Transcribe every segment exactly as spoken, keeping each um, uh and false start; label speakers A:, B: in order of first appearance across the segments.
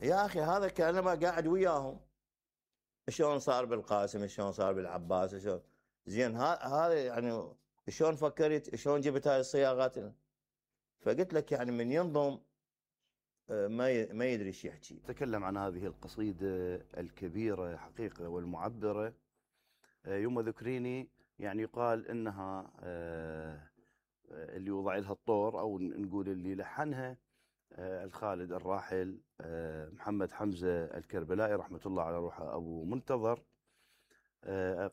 A: يا اخي هذا كانما قاعد وياهم، شلون صار بالقاسم، شلون صار بالعباس، شلون. زين هذا يعني شلون فكرت، شلون جبت هاي الصياغات. فقلت لك يعني من ينظم ما ما يدري ايش يحكي.
B: تكلم عن هذه القصيدة الكبيرة حقيقة والمعبرة. يوم ذكريني يعني يقال انها اللي وضع لها الطور او نقول اللي لحنها الخالد الراحل محمد حمزة الكربلائي رحمة الله على روحه أبو منتظر.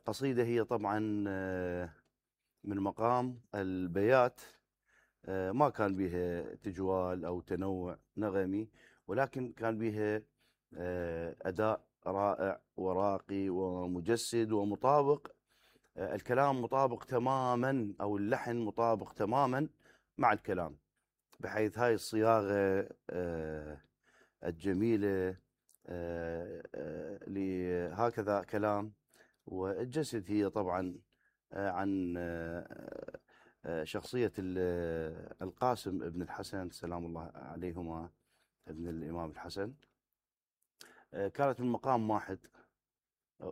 B: قصيدة هي طبعا من مقام البيات، ما كان بها تجوال أو تنوع نغمي، ولكن كان بها أداء رائع وراقي ومجسد ومطابق. الكلام مطابق تماما أو اللحن مطابق تماما مع الكلام، بحيث هاي الصياغة الجميلة لهكذا كلام. والجسد هي طبعا عن شخصية القاسم ابن الحسن سلام الله عليهما، ابن الإمام الحسن. كانت من مقام واحد،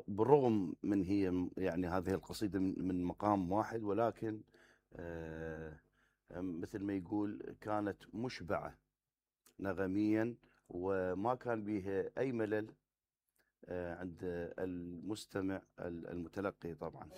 B: بالرغم من هي يعني هذه القصيدة من مقام واحد، ولكن مثل ما يقول كانت مشبعة نغميا، وما كان بها أي ملل عند المستمع المتلقي طبعا.